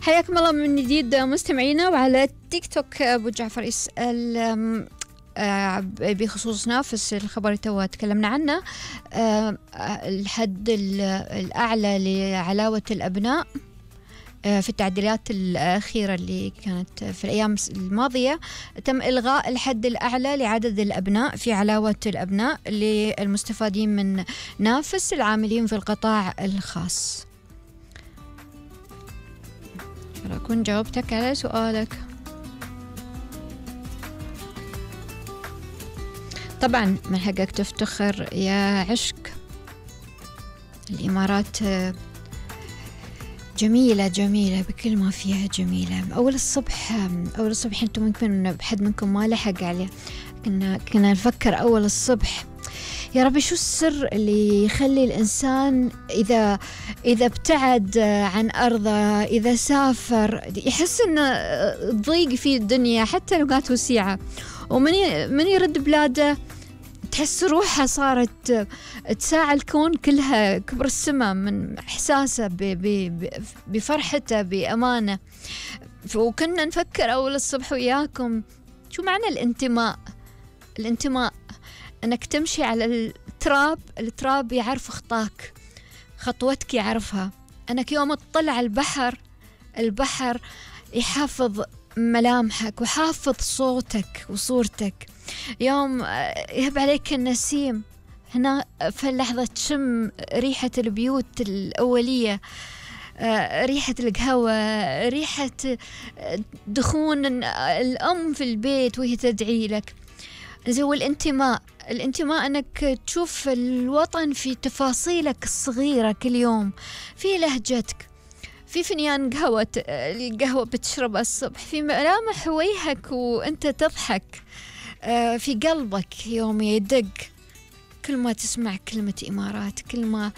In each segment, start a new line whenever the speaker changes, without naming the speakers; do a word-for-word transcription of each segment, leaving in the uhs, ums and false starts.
حياكم الله من جديد مستمعينا. وعلى تيك توك أبو جعفر يسأل بخصوص نافس، الخبر اللي تكلمنا عنه، الحد الأعلى لعلاوة الأبناء في التعديلات الأخيرة اللي كانت في الأيام الماضية، تم إلغاء الحد الأعلى لعدد الأبناء في علاوة الأبناء للمستفادين من نافس العاملين في القطاع الخاص. أكون جاوبتك على سؤالك. طبعا من حقك تفتخر يا عشق. الإمارات جميلة جميلة بكل ما فيها جميلة. أول الصبح أول الصبح أنتم ممكن بحد منكم ما لحق عليه، كنا كنا نفكر أول الصبح يا ربي شو السر اللي يخلي الإنسان إذا إذا ابتعد عن أرضه، إذا سافر، يحس إنه ضيق في الدنيا حتى لو كانت وسيعة، ومن من يرد بلاده تحس روحها صارت تساعى الكون كلها، كبر السماء من إحساسه بفرحته بأمانه. وكنا نفكر أول الصبح وياكم شو معنى الانتماء. الانتماء أنك تمشي على التراب، التراب يعرف خطاك، خطوتك يعرفها. أنك يوم تطلع البحر، البحر يحافظ ملامحك وحافظ صوتك وصورتك. يوم يهب عليك النسيم، هنا في اللحظة تشم ريحة البيوت الأولية، ريحة القهوة، ريحة دخون الأم في البيت وهي تدعي لك. زي الانتماء. الانتماء أنك تشوف الوطن في تفاصيلك الصغيرة كل يوم، في لهجتك، في فنيان قهوة القهوة بتشربها الصبح، في ملامح وجهك وأنت تضحك، في قلبك يوم يدق كل ما تسمع كلمة إمارات، كل ما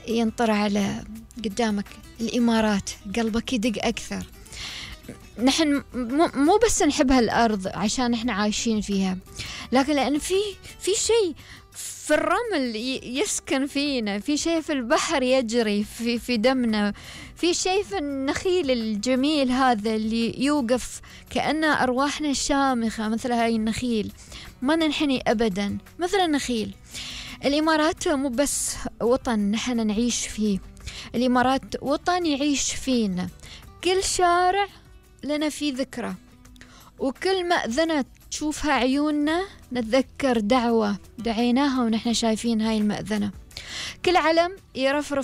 ينطر على قدامك الإمارات قلبك يدق أكثر. نحن مو بس نحب هالأرض عشان نحن عايشين فيها، لكن لأن في في شيء في الرمل يسكن فينا، في شيء في البحر يجري في في دمنا، في شيء في النخيل الجميل هذا اللي يوقف كأن أرواحنا شامخة مثل هاي النخيل، ما ننحني أبدا مثل النخيل. الإمارات مو بس وطن نحن نعيش فيه، الإمارات وطن يعيش فينا. كل شارع لنا فيه ذكرى، وكل مأذنة تشوفها عيوننا نتذكر دعوة دعيناها ونحن شايفين هاي المأذنة. كل علم يرفرف